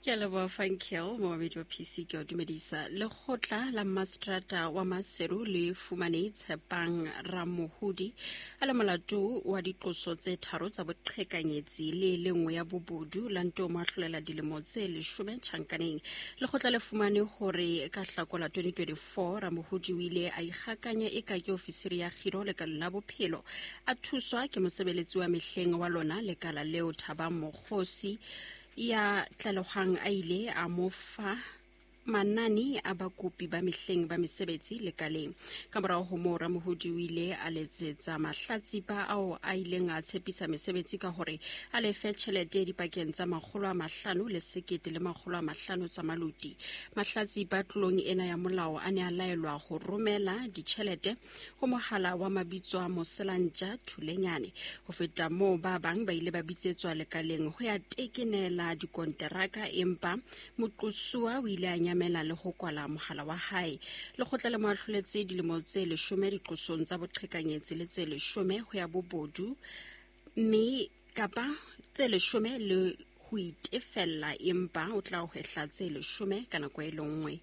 Ke a leboha Funkel, momamedi wa PC ke o dumedisa. Lekgotla la Mastrata wa Maseru le fumane Tshepang Ramohudi a le molato wa diqoso tse tharo tsa boqhekanyetsi le le nngwe ya bobodu la nto mo ahlolela dilemo tse leshome tjhankaneng. Lekgotla le fumane hore ka Hlakola 2024 Ramohudi o ile a ikgakanya eka ke ofisiri ya kgiro lekaleng la bophelo a thuswa ke mosebeletsi wa mehleng wa lona lekala leo Thabang Mokgosi ya tlalehwang a ile a mo fa manane a bakopi ba mehleng ba mesebetsi lekaleng. Ka morago ho moo Ramohodi o ile a letsetsa mahlatsipa ao a ileng a tshepisa mesebetsi ka hore a lefe tjhelete dipakeng tsa 500 le 1500 tsa maluti. Mahlatsipa tlolong ena ya molao a ne a laelwa ho romela ditjhelete ho mohala wa mabitso a Moselantja Thulenyane. Ho feta moo, ba bang ba ile ba bitsetswa lekaleng ho ya tekenela dikonteraka, empa moqosuwa o ile a nyamela le ho kwala mohala wa hae. Lekgotla le mo ahloletse dilemo tse leshome diqosong tsa boqhekanyetsi le tse leshome ho ya bobodu, mme kapa tse leshome le ho itefella, empa o tla hwehla tse leshome ka nako e le nngwe.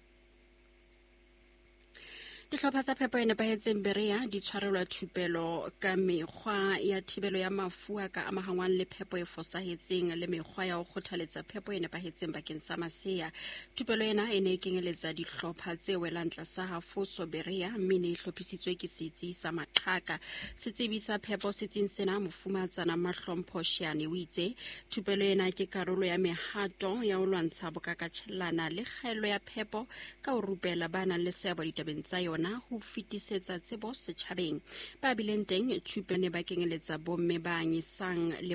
Dihlopha tsa phepo e nepahetseng Berea di tshwarelwa thupelo ka mekgwa ya thibelo ya mafu a ka amahangwang le phepo e fosahetseng le mekgwa ya ho kgothaletsa phepo e nepahetseng bakeng sa masea. Thupelo ena e ne e kenyeletsa dihlopha tse welang tlasa Hafoso Berea mme e ne e hlophisitswe ke setsi sa Maqhaka. Setsebi sa phepo setsing sena Mofumatsana Mahlompho Shiane o itse thupelo ena ke karolo ya mehato ya ho lwantsha bokakatjhellana le kgaello ya phepo ka ho rupela ba nang le seabo ditabeng tsa yona ho fetisetsa tsebo setjhabeng. Ba bileng teng thupelo ne ba kenyeletsa bomme ba anyisang le